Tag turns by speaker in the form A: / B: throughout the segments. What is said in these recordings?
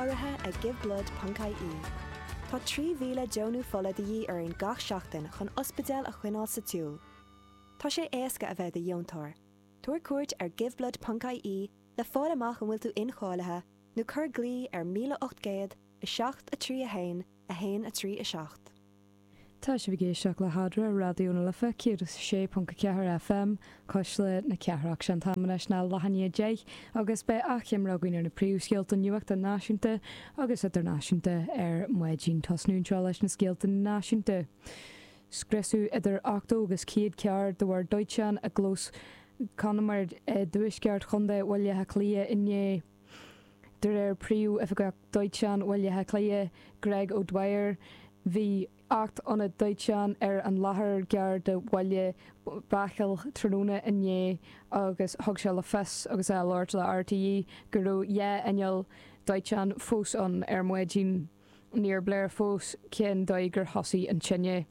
A: Urraithe ag Giveblood ponc ie. Tá 3,000 deonú fola de dhíth orainn gach seachtain chun ospidéil a choinneáil sa tsiúl. Tá sé éasca a bheith i do dheontóir. Tabhair cuairt ar Giveblood ponc ie le fáil amach an bhfuil tú incháilithe nó cuir glao ar 1800 7 3 1 1 3 7.
B: Tá sibh ag éisteacht le hAdhmhaidin ar Raidió na Life 106.4 FM, Cuisle na Cathrach. Sé an t-am anois ná leath i ndiaidh 10 agus beidh achoimre againn ar na príomhscéalta nuachta náisiúnta agus idirnáisiúnta ar maidin. Tosnú anseo leis na scéalta náisiúnta. Scriosadh idir 80 agus 100 carr de bharr dóiteáin i gclós Conemair i dtuaisceart chontae Bhaile Átha Cliath inné. De réir Príomh-Oifigeach Dóiteáin Bhaile Átha Cliath, Greg O'Dwyer, bhí 8 ionad dóiteáin ar an láthair gar do Bhaile Bachaill tráthnóna inné agus thug sé le fios agus é ag labhairt le RTÉ go raibh 2 inneall dóiteáin fós ann ar maidin. Níor léir fós cén dóigh gur thosaigh an tine.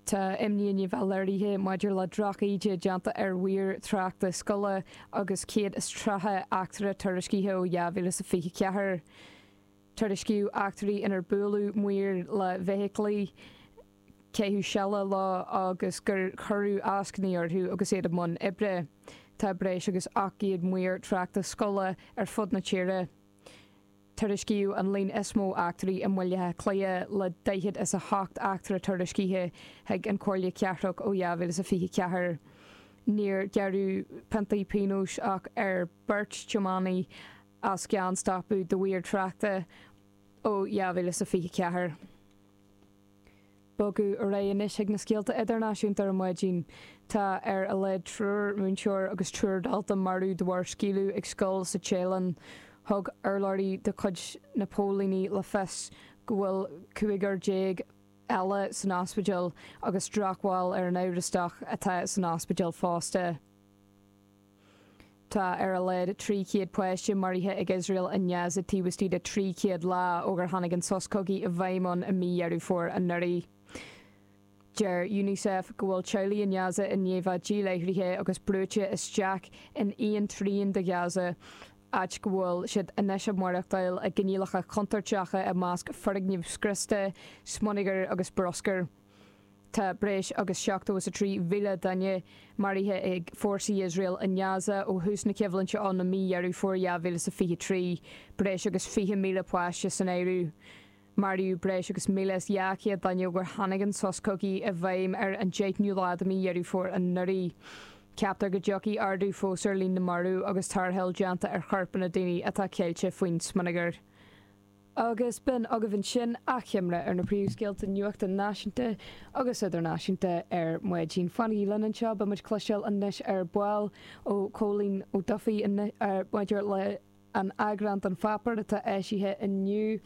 B: Tá imní i ndiaidh a bheith léirithe maidir le drochíde déanta ar mhaoir tráchta scoile agus 130 eachtra tuairiscithe ó 2024. Tuairiscíodh eachtraí inar buaileadh maoir le feithiclí, caitheadh seile leo agus gur cuireadh eascainí orthu agus iad i mbun oibre. Tá breis agus 800 maor tráchta scoile ar fud na tíre. Tuairiscíodh an líon is mó eachtraí i mBaile Átha Cliath le 48 eachtra tuairiscithe chuig an Chomhairle Cathrach ó 2024. Níor gearradh piontaí pionóis ach ar beirt tiománaí as gan stopadh do mhaoir tráchta ó 2024. Bogadh ar aghaidh anois chuig na scéalta idirnáisiúnta ar maidin. Tá ar a laghad triúr múinteoir agus triúr dalta marbh de bharr scaoileadh ag scoil sa Téalainn. Thug urlabhraí de chuid na póilíní le fios go bhfuil cúigear déag eile san ospidéal agus drochbhail ar an amhrastach atá san ospidéal fosta. Tá ar a laghad 300 páiste maraithe ag Iosrael i nGaza taobh istigh de 300 lá ó gur tháinig an sos cogaidh i bhfeidhm ann i mí Dheireadh Fómhair anuraidh. Deir Unicef go bhfuil teaghlaigh i nGaza i ndiaidh bheith díláithrithe agus brúite isteach in aon trian de Ghaza, áit go bhfuil siad anois ag maireachtáil i gcoinníollacha contúirteacha i measc foirgneamh scriosta, smionagar agus bruscar. Tá breis agus 73,000 duine maraithe ag fórsaí Iosrael i nGaza ó thús na coimhlinte ann i mí Dheireadh Fómhair 2023, breis agus 20,000 páiste san áireamh. Maraíodh breis agus 1,200 duine ó gur tháinig an sos cogaidh i bhfeidhm ar an 10ú lá de mhí Dheireadh Fómhair anuraidh. Ceaptar go dtiocfaidh ardú fós ar líon na marbh agus tarrtháil déanta ar choirpeanna daoine atá ceilte faoin smionagar. Agus b'in agaibh ansin achoimre ar na príomhscéalta nuachta náisiúnta agus idirnáisiúnta ar maidin. Fanaigí linn anseo, beidh muid cloisteáil anois ar ball ó Chóilín Ó Dufaigh maidir le an eagrán den pháipéar atá eisithe inniu.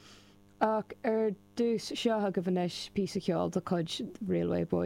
B: Ach ar dtús, seo agaibh anois píosa ceoil de chuid Railway Boys.